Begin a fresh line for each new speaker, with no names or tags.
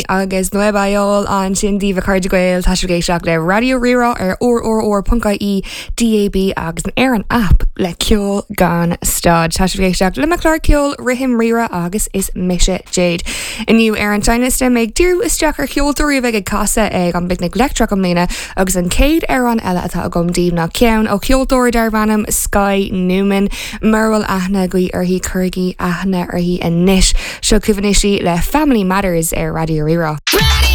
Agus Nuevayol ansin daoibh a chairde Gael, tá sibh ag éisteacht le Raidió Rí-Rá ar rrr.ie, DAB agus ar an app le ceol gan stad. Tá sibh ag éisteacht le mo chlár ceoil Rithim Rí-Rá agus is mise Jade. Inniu ar an seinnliosta mé ag díriú isteach ar cheoltóirí a bheidh ag casadh ag an bPicnic Leictreach i mbliana agus an chéad amhrán eile atá agam daoibh ná ceann ó cheoltóir darb ainm Skye Newman. Mura bhfuil aithne agaibh uirthi, cuirigí aithne uirthi anois. Seo chugaibh anois í le Family Matters ar Raidió Rí-Rá.